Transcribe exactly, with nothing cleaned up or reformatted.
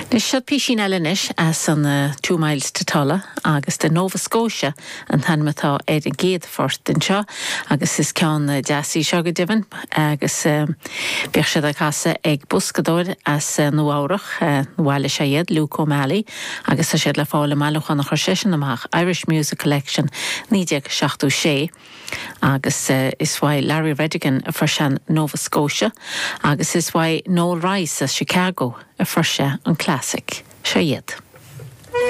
Seo písín eile anois as an uh, Two Miles to Tulla agus de Nova Scotia an t-ainm atá ar an gcéad phort anseo agus is ceann deas í seo go deimhin agus um, bíonn siad á casadh ag boscadóir as uh, Nua-Eabhrac uh, bhailigh sé iad Luke O'Malley agus tá siad le fáil i mbailiúchán a chuir seisean amach Irish Music Collection naoi déag seachtó sé. agus uh, is uaidh Larry Redigan a fuair sé Nova Scotia agus is uaidh Noel Rice as Chicago a fuair sé an classic. Seo iad.